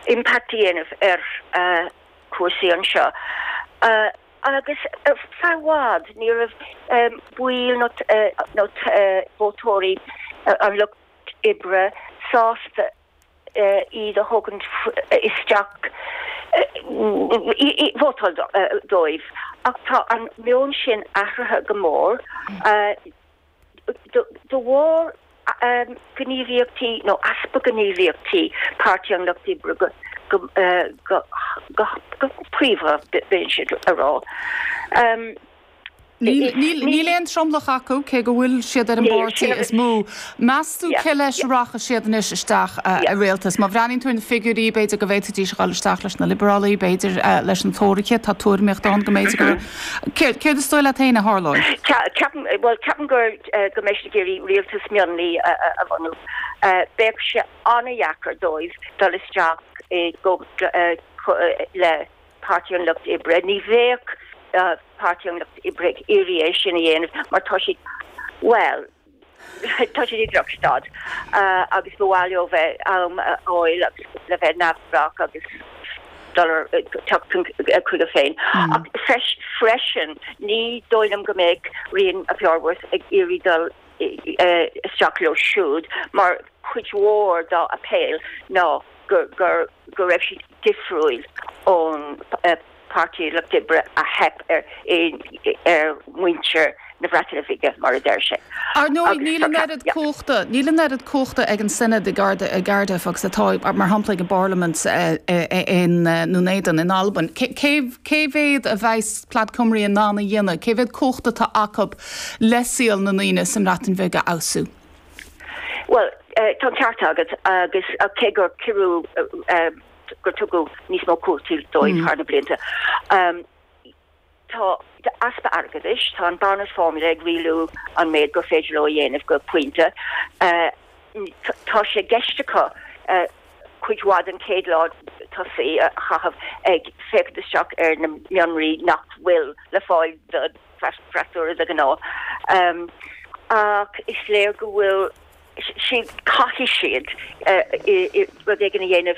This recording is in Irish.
Impact a dhéanamh ar chúrsaí anseo. Agus ar feadh i bhfad ní raibh baill nó vótóirí an Lucht Oibre sásta iad a thógaint isteach, vótáil dóibh. Ach tá an meon sin athraithe go mór. De bharr gníomhaíochtaí nó easpa gníomhaíochtaí Páirtí an Lucht Oibre go príomha, b'fhéidir a rá. Níl aon tromlach acu, cé go bhfuil siad ar an bpáirtí is mó. Meas tú cé leis a rachaidh siad anois isteach i rialtas? Má bhreathnaíonn tú ar na figiúirí, b'fhéidir go bhféadfaidís a dhul isteach leis na Liobrálaigh, b'fhéidir leis na Tóraithe, tá tuairimíocht ann go mb'fhéidir go Céard is dóigh leat féin a tharlóidh? Ceapaim, bhuel, ceapaim gur, go mbeidh siad ag iarraidh rialtas mionlaigh a bhunú. Bheadh sé an-dheacair dóibh dul isteach i gcomh le Páirtí an Lucht Oibre. Ní bheadh Páirtí an Lucht Oibre ag iarraidh é sin a dhéanamh mar tá siad, bhuel, Tá siad i drochstaid agus ba mhaith leo bheith am a fháil agus le bheith neamhspleách agus dul ar teacht chuige féin. Ach freisin ní dóigh liom go mbeadh Rhun ap Iorwerth ag iarraidh dul isteach leo siúd mar cuid mhór dá appeal ná go raibh siad difriúil ón Páirtí Lucht Oibre a theip ar ar mhuintir na Breataine Bhige, mar a deir sé. Ar ndóigh, níl an oiread cumhachta, níl an oiread cumhachta ag an Senedd i gCardiff agus atá, mar shampla, ag an bParlaimint i nDún Éideann in Albain. Cé mhéad a bheas Plaid Cymru in ann a dhéanamh? Cé mhéad cumhachta atá acu le saol na ndaoine sa mBreatain Bhig a fheabhsú? Bhuel, tá an ceart agat agus cé gur cuireadh gur tugadh níos mó cumhachtaí dóibh thar na blianta. Tá easpa airgeadais, tá an Barnett Formula ag rialú an méid gur féidir leo a dhéanamh go pointe. Tá sé i gceist acu cuid mhaith den chéad lá tosaigh a chaitheamh ag féachaint isteach ar na mionraí nach bhfuil le fáil don bhfreasúra de ghnáth. Ach is léir go bhfuil siad, caithfidh siad rud éigin a dhéanamh.